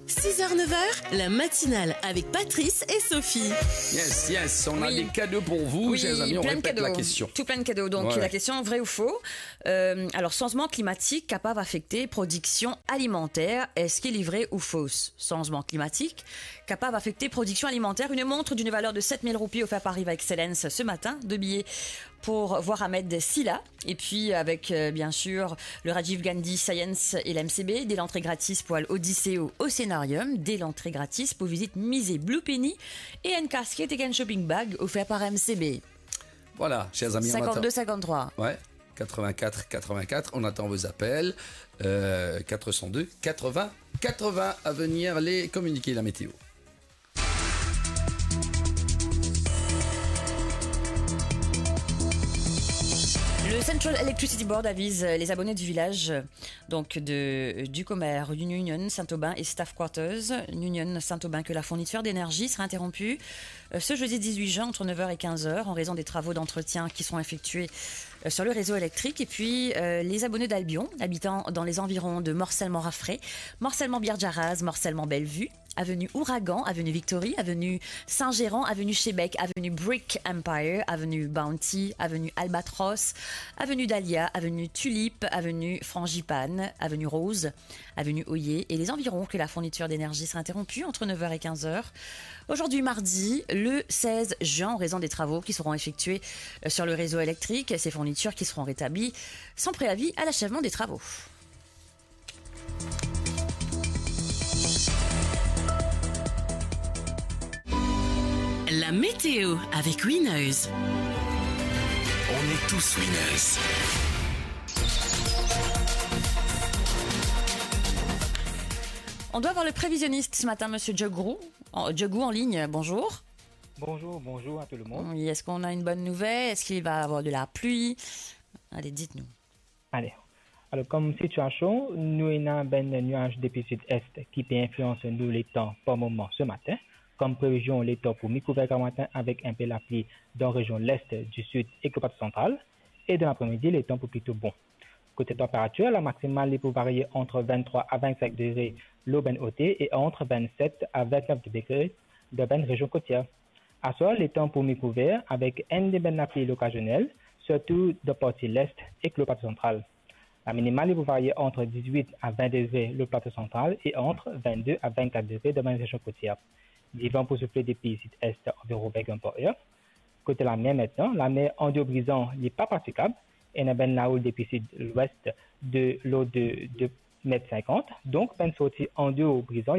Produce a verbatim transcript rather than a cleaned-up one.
Six heures, neuf heures, la matinale avec Patrice et Sophie. Yes, yes, on a des cadeaux pour vous, chers amis. On répète la question. Tout plein de cadeaux. Donc, la question, vrai ou faux ? Euh, alors, changement climatique capable d'affecter production alimentaire. Est-ce qu'il est vrai ou faux ? Changement climatique capable d'affecter production alimentaire. Une montre d'une valeur de sept mille roupies offerte par Riva Excellence ce matin. Deux billets pour voir Ahmed Silla. Et puis avec, euh, bien sûr, le Rajiv Gandhi Science et l'M C B, des entrées gratis pour l'Odyssée au Océanarium, des entrées gratis pour visite musée Blue Penny et une casquette et une shopping bag offert par M C B. Voilà, chers amis, on attend. Cinquante-deux cinquante-trois. Ouais, quatre-vingt-quatre quatre-vingt-quatre, on attend vos appels. Euh, quatre cent deux quatre-vingts quatre-vingts, à venir les communiqués, la météo. Le Central Electricity Board avise les abonnés du village, donc de, du Commerce, Union, Saint-Aubin et Staff Quarters, Union Saint-Aubin, que la fourniture d'énergie sera interrompue, euh, ce jeudi dix-huit juin entre neuf heures et quinze heures en raison des travaux d'entretien qui seront effectués, euh, sur le réseau électrique. Et puis, euh, les abonnés d'Albion, habitant dans les environs de Morcellement-Raffray, Morcellement-Biardiaraz, Morcellement-Bellevue, avenue Ouragan, avenue Victory, avenue Saint-Gérand, avenue Chebec, avenue Brick Empire, avenue Bounty, avenue Albatros, avenue Dahlia, avenue Tulipe, avenue Frangipane, avenue Rose, avenue Oyer et les environs, que la fourniture d'énergie sera interrompue entre neuf heures et quinze heures. Aujourd'hui mardi, le seize juin, en raison des travaux qui seront effectués, euh, sur le réseau électrique, ces fournitures qui seront rétablies sans préavis à l'achèvement des travaux. La météo avec Winners. On est tous winners. On doit avoir le prévisionniste ce matin, monsieur Djogou, en, Djogou en ligne. Bonjour. Bonjour, bonjour à tout le monde. Oui, est-ce qu'on a une bonne nouvelle ? Est-ce qu'il va avoir de la pluie ? Allez, dites-nous. Ale. Alor, kom sitiasion, nou ena bann niaz depi sid-est ki pe inflians nou letan par moman se matin. Kom previzion, letan pou mikouver gramatin avek inpe lapli dan rezion lest, disid ek Plato Santral. E dan lapre-midi, letan pou plito bon. Kote tanperatir, la maksimal li pou varie ant venntrwa a vennsenk degre lor bann oter e ant vennset a vennef degre dan bann rezion kotier. Aswar, letan pou mikouver avek enn de bann lapli lokazionel, sirtou dan parti lest ek lor Plato Santral. Laminimal li pou varie ant dizwit a vin degre lor Plato Santral e ant vennde a vennkat degre dan bann rezion kotier. Divan pou soufle depi sid-est anviron vinnkatr par er. Kote lamer aster, lamer andeor Brizan li pa pratikab, ena bann laoul depi sid-lwes de lord de, de met sinkant, donk bann sorti andeor Brizan